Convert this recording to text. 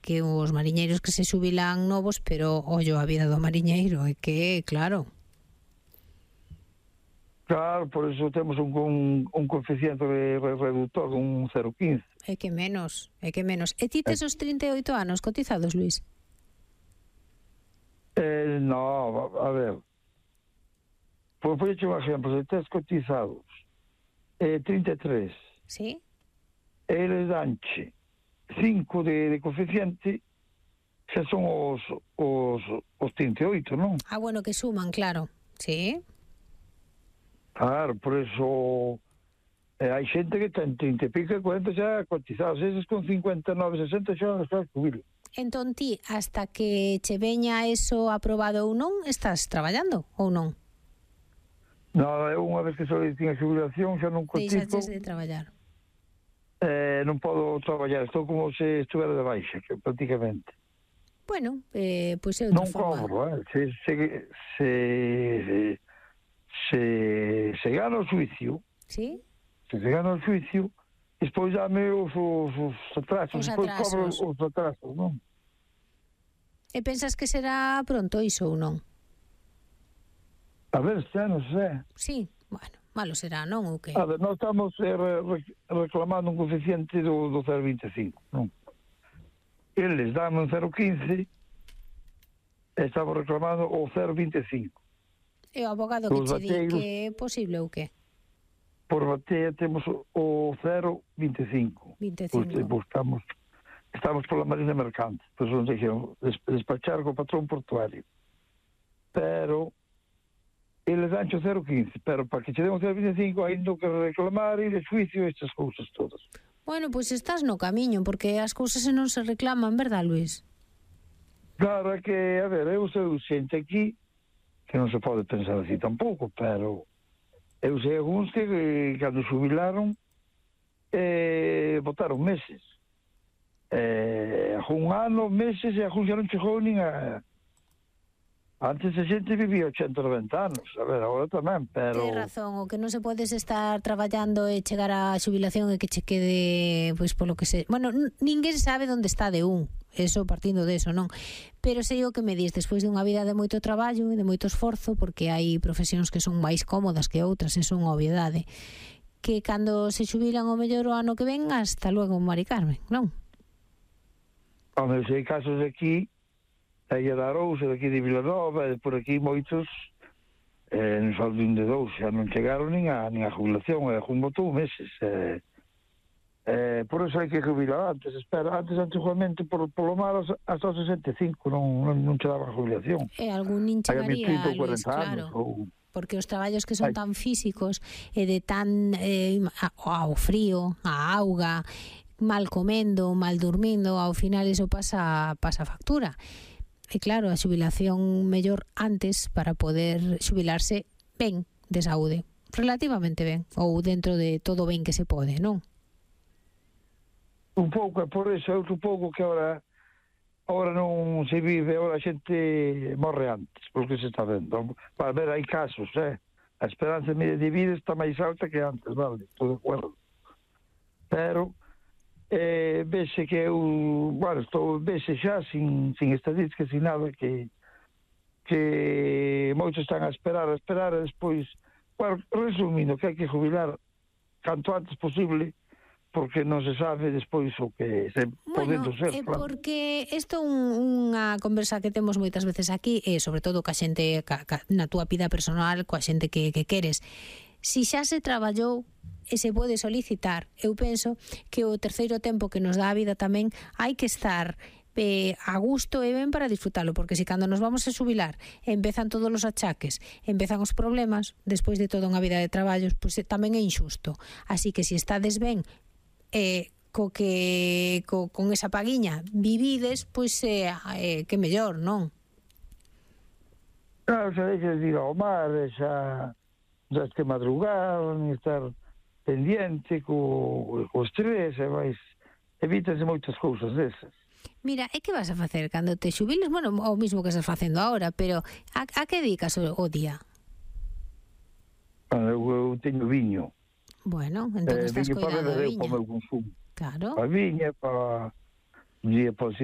que os mariñeiros que se xubilan novos, pero ollo a vida do mariñeiro é que, claro. Claro, por eso temos un coeficiente reductor, un 0,15. É que menos. E ti tes os 38 anos cotizados, Luís? No, a ver. Por un exemplo, se tes cotizados 33, sí, eles danche 5 de coeficiente, xa son os 38, non? Ah, bueno, que suman, claro. Sí. Claro, por eso hai xente que ten 30 e pico e 40 xa cotizados, eses con 59, 60 xa jubilo. Entón ti, hasta que che veña eso aprobado ou non, estás traballando ou non? Non, eu unha vez que soliciten a xubilación xa non cotizo. Deixaches de traballar. Non podo traballar, estou como se estuvera de baixa, prácticamente. Bueno, pois é outra forma. Non cobro, se gana o xuicio, sí? Se gana o xuicio, despois dame os atrasos, despois cobro os atrasos, non? E pensas que será pronto iso ou non? A ver, xa non sei. Sí, bueno, malo será, non? Ou que? A ver, nós estamos reclamando un coeficiente do 0,25, non? Eles dan un 0,15 e estamos reclamando o 0,25. E o abogado que che di que é posible ou que? Por batea temos o 0,25. 25. Estamos pola Marina Mercante. Pois nos dixeron despachar co patrón portuario. Pero eles dan o 0,15. Pero para que che den o 0,25 hai que reclamar e de xuicio estas cousas todas. Bueno, pois estás no camiño, porque as cousas non se reclaman, verdad, Luís? Claro, é que, a ver, eu sei xente aquí que non se pode pensar así tampouco, pero eu sei algúns que cando xubilaron botaron meses. Un ano, meses, e algúns xa non chegou nin a... Antes a xente vivía 80, 90 anos, a ver, agora tamén, pero... Tens razón, o que non se podes estar traballando e chegar á xubilación e que che quede, pois, polo que se... Bueno, ninguén sabe onde está de un, eso partindo de eso, non? Pero sei o que me dis, despois de unha vida de moito traballo e de moito esforzo, porque hai profesións que son máis cómodas que outras, eso é unha obviedade, que cando se xubilan o mellor o ano que ven, hasta luego, Mari Carmen, non? Home, se hai casos aquí, aí a Arousa, daqui de Vilanova, e por aquí moitos non só de un de dous, xa non chegaron nin a jubilación, un botou meses. Por eso hai que jubilar antes, antiguamente, polo malo, hasta os 65, non che daban jubilación. E algún nin chegaría, Luís, claro. Porque os traballos que son tan físicos e de tan ao frío, a auga, mal comendo, mal durmindo, ao final iso pasa factura. E claro, a xubilación mellor antes para poder xubilarse ben de saúde, relativamente ben, ou dentro de todo ben que se pode, non? Un pouco, por eso é outro pouco que agora non se vive, agora a xente morre antes, porque se está vendo. Para ver, hai casos, a esperanza media de vida está máis alta que antes, vale, estou de acordo. Pero vese que vese xa sin estadísticas, sin nada, que moitos están a esperar e despois, bueno, resumindo, que hai que jubilar canto antes posible, porque non se sabe despois o que se podendo ser. Claro. Porque isto é unha conversa que temos moitas veces aquí, e sobre todo ca xente, na túa vida personal, coa xente que queres. Si xa se traballou e se pode solicitar, eu penso que o terceiro tempo que nos dá a vida tamén hai que estar a gusto e ben para disfrutalo, porque se cando nos vamos a xubilar empezan todos os achaques, empezan os problemas, despois de toda unha vida de traballos, pois tamén é injusto. Así que se estades ben con esa paguiña vivides, pois que mellor, non? Claro, xa deixas de ir ao mar, xa que madrugar, nin estar pendiente co estrés, e máis evítanse moitas cousas desas. Mira, e que vas a facer cando te xubiles? Bueno, o mismo que estás facendo agora, pero a que dedicas o día? Eu teño viño. Bueno, entón estás cuidando da viña. Para o meu consumo. Claro. A viña, para